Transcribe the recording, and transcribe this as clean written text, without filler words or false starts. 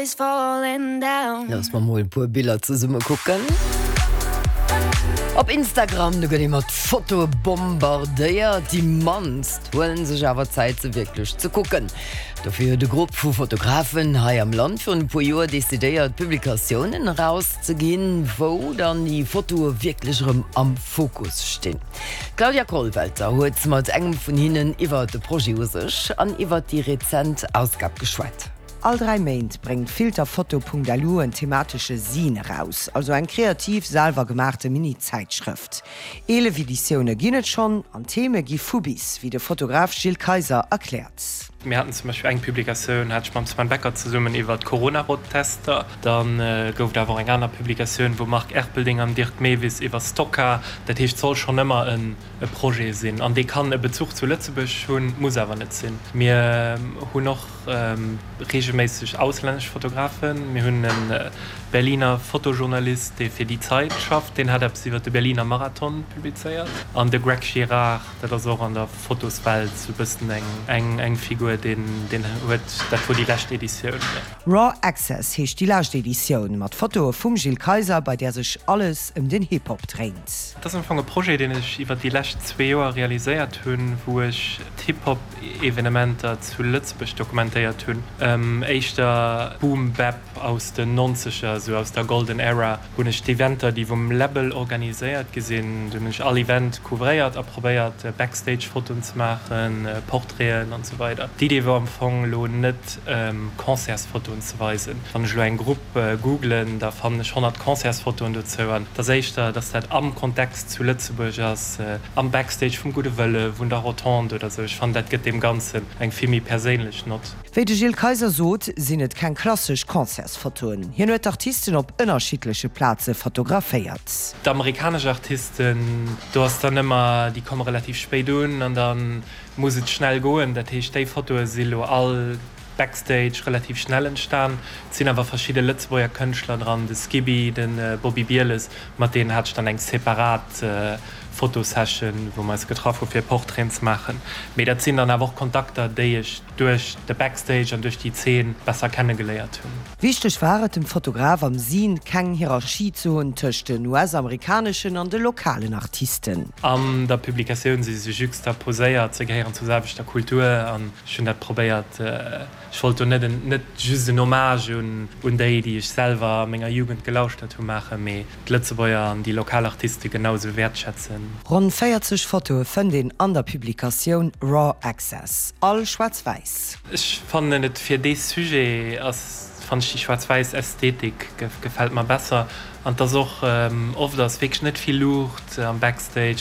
Looss mer mol e puer Biller zesumme kucken. Op Instagram, do gëtt ee mat Fotoe bombardéiert. Déi mannst huelen sech awer Zäit se wierklech ze kucken. Dofir huet e Grupp vu Fotografen hei am Land virun e puer Joer decidéiert Publikatiounen eraus ze ginn, wou dann déi Fotoe wierklech erëm am Fokus stinn. D'Claudia Kollwelter huet mat engem vun hinnen iwwer de Projet u sech an iwwer déi rezent Ausgab geschwat. All 3 Méint bréngt Filterfoto.lu en thematesche Zine eraus, also eng kreativ, selwer gemaachte Mini-Zäitschrëft. 11 Editioune ginn et schonn an d'Theme gi vu bis, wéi de Fotograf Gilles Kayser erkläert. Mir haten zum Beispill eng Publikatioun, hat ech mam Sven Becker zesummen iwwer d'Corona-Rot-Tester. Da gouf et awer och eng aner Publikatioun, wou Marc Erpelding an Dirk Mewis iwwer Stockcar. Dat heescht, et soll schonn ëmmer e Projet sinn an dee kann e Bezuch zu Lëtzebuerg hunn, muss awer net sinn. Mir hunn och Reegelméisseg auslännesch Fotografen. Mir hunn e Berliner Fotojournalist, dee fir Die Zeit schafft, deen hat eppes iwwer de Berliner Marathon publizéiert. An de Greg Girard, dat ass och an der Fotoswelt sou bëssen eng Figur, deen huet, dat wor déi lescht Editioun. Raw Access heescht déi lescht Editioun, mat Fotoe vum Gilles Kayser, bei där sech alles ëm den Hip-Hop dréint. Dat ass am Fong e Projet, deen ech iwwer déi lescht zwee Joer realiséiert hunn, wou ech d'Hip-Hop Evenementer zu Lëtzebuerg dokumentéiert hunn, éischter Boom Bap aus den Nonzeger, esou aus der Golden Era, hunn ech d'Eventer, déi vum Label organiséiert gi sinn, do hunn ech all Event couvréiert a probéiert Backstage-Fotoen ze maachen, Portraiten an esou weider. D'Idee wor am Fong elo net Concertsfotoen ze weisen. Wann ech elo eng Grupp googlen, da fannen ech 100 Concertsfotoen dozou an et ass éischter, dass dat am Kontext zu Lëtzebuerg ass, Am Backstage vum Gudde Wëlle, vun der Rotonde oder sou. Ech fannen, dat gëtt deem Ganzen eng vill méi perséinlech Nott. Wéi de Gilles Kayser sot, sinn et keng klassesch Concertsfotoen. Hien huet d'Artisten op ënnerschiddleche Plaze fotograféiert. D'amerikanesch Artisten, do ass dann ëmmer, déi komme relativ spéit un an da muss et schnell goen. Dat heescht, déi Fotoe si lo all Backstage relativ schnell entstan. Et sinn awer verschidde Lëtzebuerger Kënschtler dran, de Skiby, de Bobby Bieles, mat deenen hat ech dann eng separat Fotosession, wou mer eis getraff hu fir Portraiten ze maachen. Mee dat sinn dann awer och Kontakter, déi ech duerch de Backstage an duerch déi Zeen besser kennegeléiert hunn. Wichteg war et dem Fotograf am Zine, keng Hierarchie ze hunn tëscht den US-amerikaneschen an de lokalen Artisten. An der Publikatioun si se juxtaposéiert, se gehéieren zur selwechter Kultur an ech hunn dat probéiert, ech wollt do net net just en Hommage un déi, déi ech selwer a menger Jugend gelauschtert hu maachen, mee d'Lëtzebuerger an déi lokal Artiste genau esou wäertschätzen. Ronn 40 Fotoe fënnt een an der Publikatioun Raw Access, all schwaarz-wäiss. Ech fannen et fir dee Sujet ass, fannen ech déi schwaarz-wäiss Ästhetik gefält mer besser an et ass och oft ass wierklech net vill Luucht am Backstage.